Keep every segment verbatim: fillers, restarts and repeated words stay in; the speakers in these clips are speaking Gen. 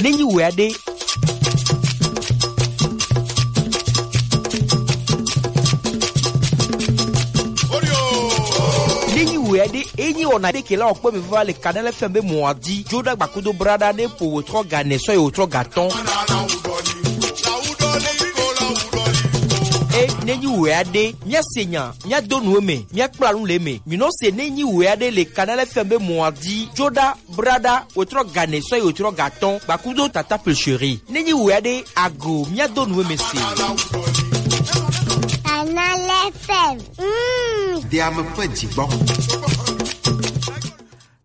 Nenyi wea ɖe. Nenyi wea ɖe, enyi wɔna ɖe ke la wɔkpɔ mi va le Canal F M be mɔa di. Joɖa gbakudo braɖa ne po wòtrɔ ga ne sɔ ye wòtrɔ ga tɔn. E nenyi wea ɖe, míase nya, míado nu eme, míakpla nu le eme. Mino se nenyi wea ɖe le Canal F M be mɔa di. Joɖa braɖa, wòtrɔ ga ne sɔ ye wòtrɔ ga tɔn, gbakudo tata Pulchérie. Nenyi wea ɖe ago, míado nu eme se. Canal F M. Mm. Deame ƒe dzigbɔ.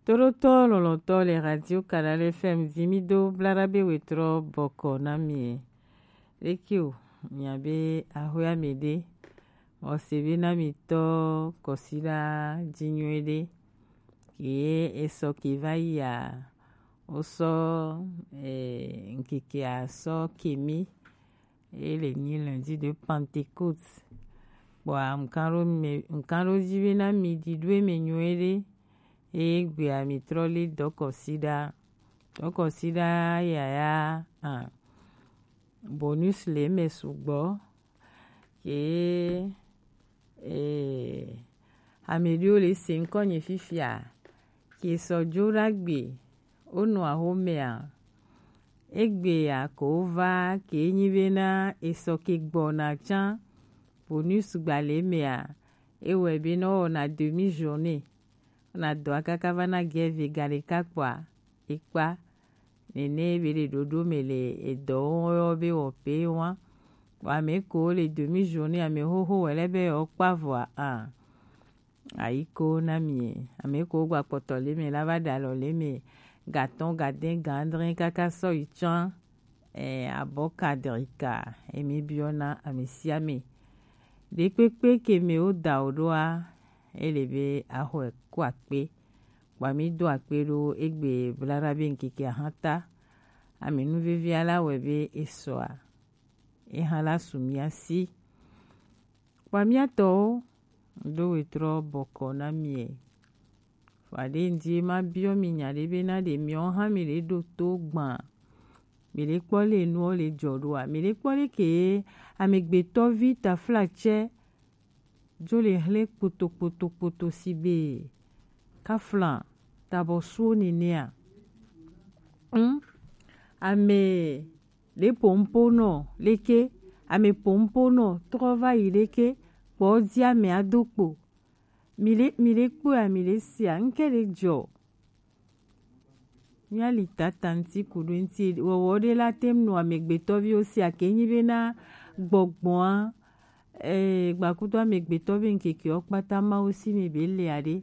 Toɖotɔ lɔlɔ̃tɔ le Radio Canal F M di mi do blaɖa be wòtrɔ bɔkɔ na mi. Leke o, nya be ahoe ame ɖe, ɔse be na mi tɔ kɔsiɖa dzi nyuie ɖe. Ke esɔ ke va yi a, wosɔ, eh, ŋkeke a sɔ ke mi, eye le nyi lundi de Pentecôte. Kpɔa, ŋkan ɖo me, ŋkan ɖo dzi be na mi ɖi ɖo eme nyuie ɖe, eye gbea mi trɔ li dɔkɔsiɖa. Dɔkɔsiɖa yaya, ah, bonus le eme sugbɔ. Ke, eh, ame ɖewo le se ŋkɔ nye fifia. Ke sɔ dzo ɖa gbe, wonɔ axomea. Egbea ko va ke nyi bena esɔ ke gbɔna tsã, bonus gba le emea, ewɔe bena wowɔna demi journée. Na dɔa kaka va na ge ve ga ɖeka kpɔa, ekpa. Nene be ɖe ɖoɖo me le edɔ wɔwɔ be wɔƒe wa. Vɔ ame ko le demi journée, ame xoxo wɔ lɛ be yewoakpa vɔa, ah, ayi ko na mi. Ame ko gba kpɔtɔ le me la va ɖe alɔ le me, ga atɔ̃, ga adẽ, ga adre kaka sɔ yi tsã. Eh, abɔ ka dri ka, emi biɔna ame sia ame. Ɖekpekpe ke me wo da o ɖoa, ele be axɔe ko akpe. Kpɔa mi do akpe ɖo egbe blaɖa be ŋkeke ahã ta. Ame nu vevi ala wɛ be esɔa, ehã la su mia si. Kpɔa mia tɔwo, do wetrɔ bɔkɔ na mie. Faɖe ŋdi ma biɔ mi nya ɖe be na ɖe miɔ hã mi ɖe ɖo to gbã. Mi ɖe kpɔ le nuɔ le jɔ ɖoa? Mi ɖe kpɔ le ke amegbetɔvi taflatsɛ dzo le hlẽ kpoto kpoto kpoto si be kafla tabɔ suo nenea. Hm? Ame le pomponɔ leke, ame pomponɔ trɔ va yi leke, kpɔ dzi ame ado kpo. Mi le, mi le kpɔa, mi le sia, ŋke le jɔ. Míali tata ŋuti ku ɖo ŋuti. Wɔwɔ ɖe la te ŋu nɔ amegbetɔviwo si ake nyi be na gbɔgbɔa, eh, gbakudo amegbetɔ be ŋkekewo kpata Mawu si mi be le aɖe.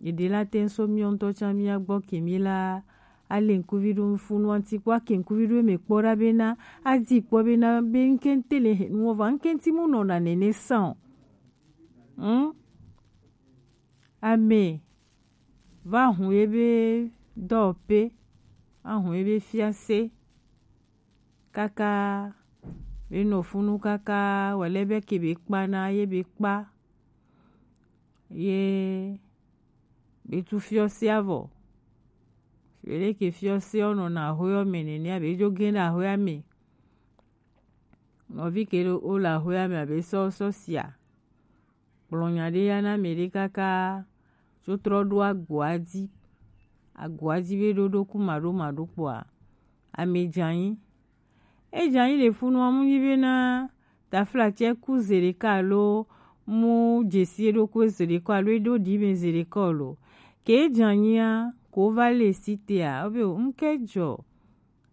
Eɖe la te ŋu so miɔ ŋutɔ tsã mía gbɔ ke mi la ale ŋkuvi ɖo ŋfunu ŋuti kpɔ ake ŋkuvi ɖo eme kpɔ ɖa be na adi kpɔ be na be ŋke ŋte le he nuwo va ŋke ŋti mu nɔna nene sa o. Hm? Ame va hun ebe dɔwɔƒe, va hun ebe fiase, kaka be nɔ funu kaka wòle be ke be kpa na ye be kpa, ye be tu fiɔsea vɔ. Be leke fiɔsea nɔna ahoeɔ me nenea, be dzo ge ɖe ahoea me. Nɔvi ke ɖo wo le ahoea me abe sɔ sɔ sia. Kplɔ nya ɖe ya na ame ɖe kaka tso trɔ ɖo agoa dzi. Agoa dzi be ɖoɖo ku maɖo maɖo kpɔa, ame dze anyi. Edze anyi le funua mu nyi be na taflatsɛ ku ze ɖeka alo mu dzesi eɖokui ze ɖeka alo eɖo ɖi me ze ɖeka o lo. Ke edze anyia, ko va le sitea, ebe o, ŋke dzɔ.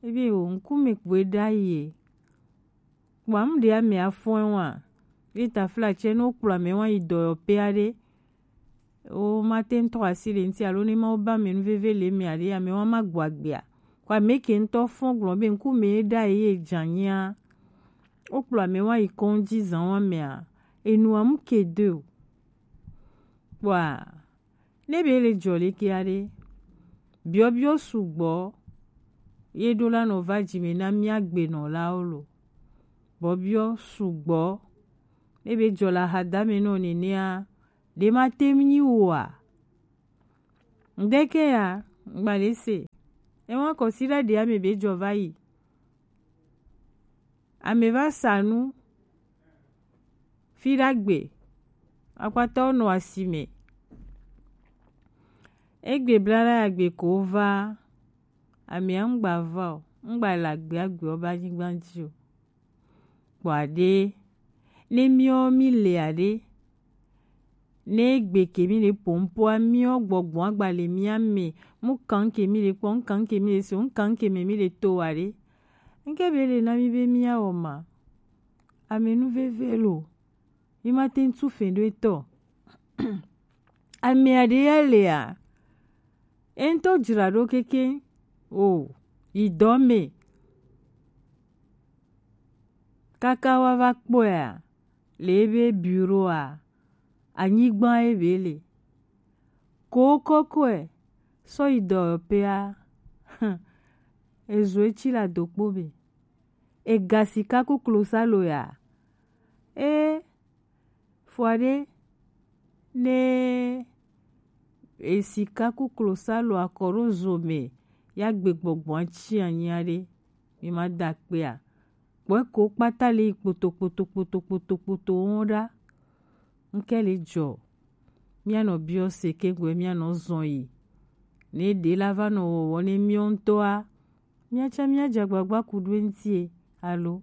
Ebe o, ŋkume kpoe ɖa ye. Kpɔa ŋɖe ame afɔe wa. Ye taflatsɛ ne wokplɔ ame wa yi dɔyɔƒe aɖe, womate ŋu tɔ asi le ŋuti alo ne Mawu be ame nu veve le eme aɖe, ame wa magbɔ agbea. Kpɔa ame ke ŋutɔ fɔ gblɔ be ŋkume ye ɖa ye dze anyia. Wokplɔ ame wa yi kɔdzi zã wa mea, enua mu ke do o. Kpɔa ne be le jɔ leke aɖe, biɔbiɔ sugbɔ ye ɖo la nɔ va dzi me na mía gbenɔlawo lo. Bɔbiɔ sugbɔ ne be jɔ le ahadame nɔ nenea, ɖe ma te ŋu nyi woa? Ŋdeke ya, ŋgba le se. Ewa kɔsiɖa ɖe ame be jɔ va yi. Ame va sa nu fi ɖagbe. Akpatɔ nɔ asime. Egbe bla ɖe agbe ko va. Amea ŋgba va o, ŋgba le agbe agbeɔ be anyigba dzi o. Kpɔ aɖe, ne míɔ mí le aɖe, ne egbe ke mí le pompoa, míɔ gbɔgbɔ agba le mía me, mu kan ke mí le kpɔ, ŋkan ke mí le so, ŋkan ke me mí le to aɖe. Ŋke be le na mí be mía wɔ ma. Ame nu veve lo. Mí ma te ŋu tu fɛn ɖo etɔ. Ame aɖe ya lea, eŋutɔ dzra ɖo keke o, yi dɔ me. Kaka wa va kpɔea, le ebe bureau a, anyigba ebe le. Ko kɔkɔe, sɔ yi dɔyɔƒea, ezo etsi le adokpo me. Ega sika ku klosalo ya. E fua ɖe ne esika ku klosalo akɔ ɖo zo me ya gbe gbɔgbɔa tsi anyia ɖe, mi ma da kpea. Kpɔe ko kpata le yi kpoto kpoto kpoto kpoto kpoto wo ɖa. Ŋke le jɔ. Míanɔ biɔ se ke gbɔe míanɔ zɔn yi. Ne ɖe la va nɔ wɔwɔ ne míɔ ŋutɔa, míatsa míadze agbagba ku ɖo eŋuti e, alo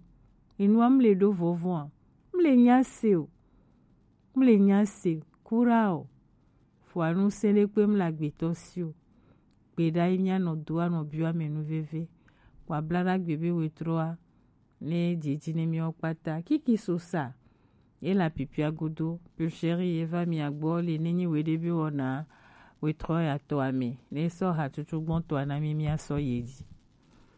enua mle ɖo vɔvɔa, mle nya se o, mle nya se kura o. Fua nu se ɖe kpe mle agbetɔ si o. Gbeɖa yi míanɔ do anɔ biɔ ame nu veve. Kpɔ abla ɖagbe be wetrɔa, ne dzidzi ne míawo kpata. Kiki so sa. Ye le apipia godo, pulchérie ye va mia gbɔ le ne nyi weɖe be wɔna wetrɔ ya tɔ ame. Ne sɔ hatsotso gbɔn tɔ ana mi mia sɔ ye dzi.